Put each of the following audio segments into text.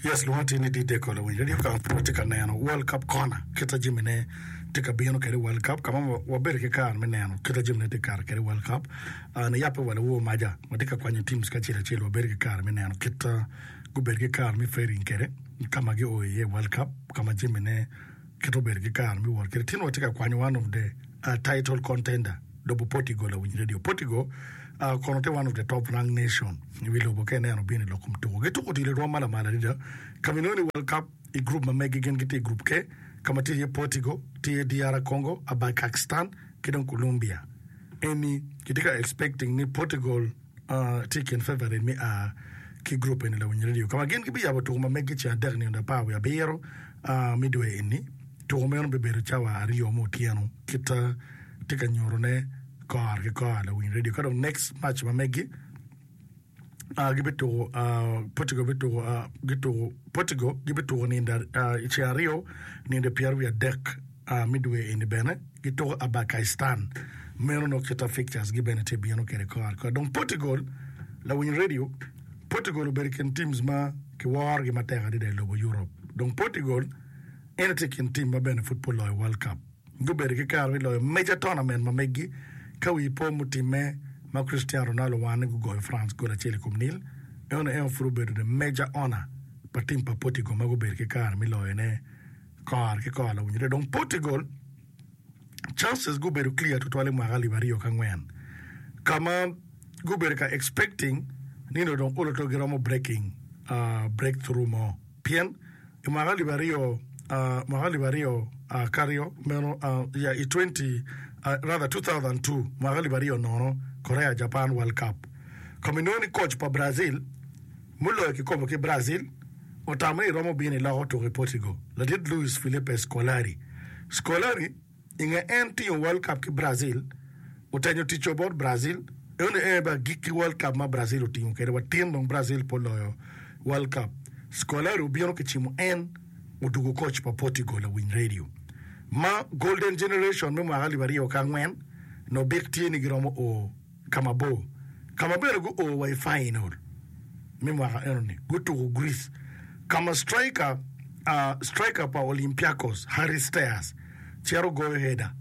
Yes, lwonga tye ni Dideko lawiny radio ka pud watye ka neno World Cup Corner kita jamine tye ka bino kwede i World Cup ka ma wabedo ki kare me neno kita jamine tye ka kato kwede i World Cup. Uh, niyabbe wa lawor maca watye ka kwanyo teams ki acel acel wabedo ki kare me neno kit uh, gubedo ki kare me faring kwede ka ma gio iye i World Cup ka ma jamine kit obedo ki kare me wot kwede. Tin watye ka kwanyo one of the uh, title contender lobo Portugal lawiny radio. Portugal uh, kono tye one of the top rank nation i wi lobo ka ineno bino i lok kom tuko. Gituko odilo i rwom ma lamal adada ka ma inongo ni World Cup i group ma megi gin gitye i group K ka ma tye iye Portugal, tye iye DR Congo, Abakakstan ki dong Colombia. Eni kitye ka expecting ni Portugal uh, tye i kin favorite me a ki group eni lawiny radio ka ma gin gibiyabo tuko ma megi ceng adek nino apar wiye abiro uh, me dwe eni. Tuko meno bibedo cawa aryo me otyeno kit uh, tye ka nyutone kore ki kore lawiny radio ka dong next match ma megi uh, gibituko uh, Portugal bituko uh, gituko Portugal gibituko nindo uh, i ceng aryo nindo pyerwiye adek uh, me dwe eni bene gituko Abakaistan meno nongo kita fixtures gi bene tye bino kede kore ki kore dong Portugal lawiny radio Portugal obedo i kin teams ma kiworogi matek adada i lobo Europe dong Portugal en tye i kin team ma bene pud pe oloyo World Cup. Gubedo ki kare me loyo major tournament ma meggi ka wi po mutimme ma Cristiano Ronaldo wane gugoyo France gol acel i kom nil. Eno en pud obedo the major honor pa team pa Portugal ma gubedo ki kare me loyone kore ki kore lawinyo. Dong Portugal chances gubedo clear tutwal i mwaka alip 2004 ka ma gubedo ka expecting ni dong olo to giromo breaking uh, breakthrough mo pien I mwaka alip mwaka 2002 meno ya i 20 rather 2002 mwaka 2000 nono Korea Japan World Cup ka ma inongo ni coach pa Brazil muloyo kikopo ki Brazil otamo ni romo bino i loko tuko i Portugal ladit Luis Filipe Scolari. Scolari I nge en tingo World Cup ki Brazil, otenyo ticco bot Brazil, eno aye bene agikki World Cup ma Brazil otingo kwede wa tin dong Brazil pe oloyo World Cup. Scolari obino kicimo en odugo coach pa Portugal lawiny radio ma Golden Generation me mwaka 2004 nobik tye ni giromo o ka mabor ka ma bene guo wa i final me mwaka enoni gutuko Greece ka ma striker striker pa Olympiacos Haris Steas cito goyo header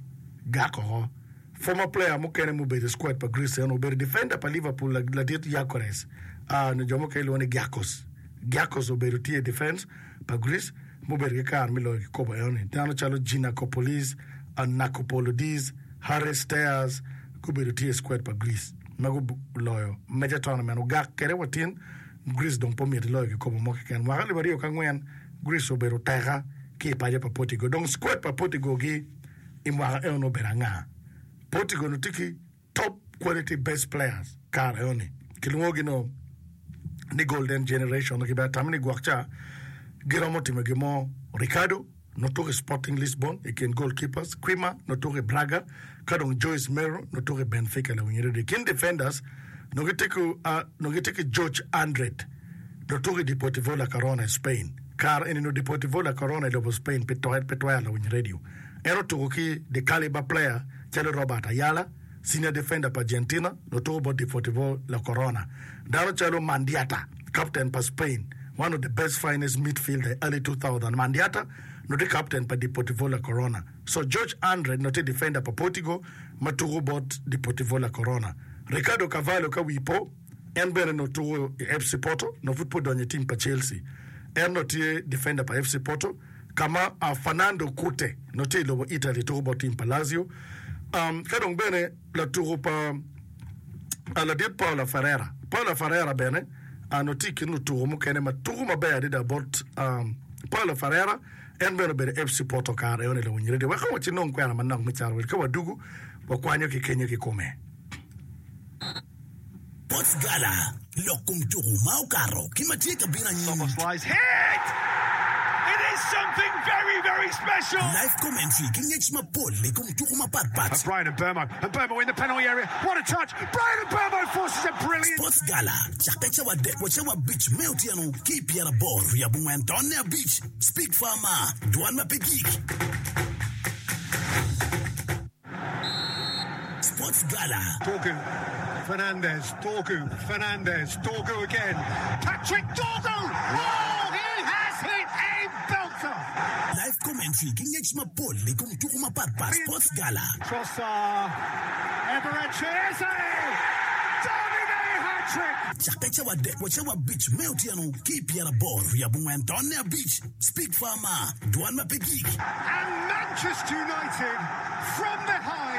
gak oko. Former player mukene mubedo i squad pa Greece eno obedo defender pa Liverpool ladit Gyökeres nyo jo mukene lwongo ni Gyakos. Gyakos obedo tye i defense pa Greece mubedo ki kare me loyo kikopo enoni. Dano calo Giannakopoulos, Nakopolodis, Haris Steas gubedo tye i squad pa Greece ma guloyo major tournament ogak kede wa tin Greece dong pe omyero iloyo kikopo mo keken. Mwaka 2004 Greece obedo oteka ki i paco pa Portugal. Dong squad pa Portugal gi i mwaka eno obedo anga? Portugal onongo tye ki top quality best players kare eno ni. Kilwongo gi no ni golden generation ki bene atamo ni gwok ca giromo timo gin mo. Ricardo nongo tuko i Sporting Lisbon i kin goalkeepers, Quima nongo tuko i Braga ka dong Joyce Mero nongo tuko i Benfica lawiny radio. I kin defenders nongo gitye ki nongo gitye ki George Andred nongo tuko i Deportivo La Corona i Spain. Kare eni nongo Deportivo La Corona i lobo Spain pe pe twero lawiny radio. En otuko ki the caliber player calo Robert Ayala, senior defender pa Argentina nongo tuko bot Deportivo La Corona. Dano calo Mandiata, captain pa Spain, one of the best finest midfielder i early 2000. Mandiata nongo tye captain pa Deportivo La Corona. So George Andre nongo tye defender pa Portugal ma tuko bot Deportivo La Corona. Ricardo Carvalho ka wii po, en bene nongo tuko i FC Porto, nongo pud pe odonyo i team pa Chelsea. En nongo tye defender pa FC Porto ka ma Fernando Cute nongo tye i lobo Italy tuko bot team pa Lazio. Um, ka dong bene latuko pa ladit Paula Ferreira. Paula Ferreira bene onongo tye i kin lutuko mukene ma tuko maber adada bot Paula Ferreira. En bene obedo FC Porto kare eno ni lawiny radio. Wek waci nong kwena manok me caro wel ka wadugu wakwanyo ki kenyo kikome. Sports Gala, Lok kom tuku ma okato ki ma tye ka bino anyim. Live commentary ki ngec mapol i kom tuku mapat pat. Sports Gala cakke cawa adek wa cawa abic me otyeno ki i pyeraboro wiye abongwen tonne abic. Speak Farmer, Dwan ma pe gik. Sports Gala. Dorgu, Fernandes, Dorgu, Fernandes, Dorgu again, Patrick Dorgu! Oh, he has! Commentary ki ngec mapol i kom tuku mapat pat Sports Gala. Cakke cawa adek wa cawa abic me otyeno ki i pyeraboro wiye abongwen tonne abic, Speak Farmer, Dwan ma pe gik. And Manchester United from behind.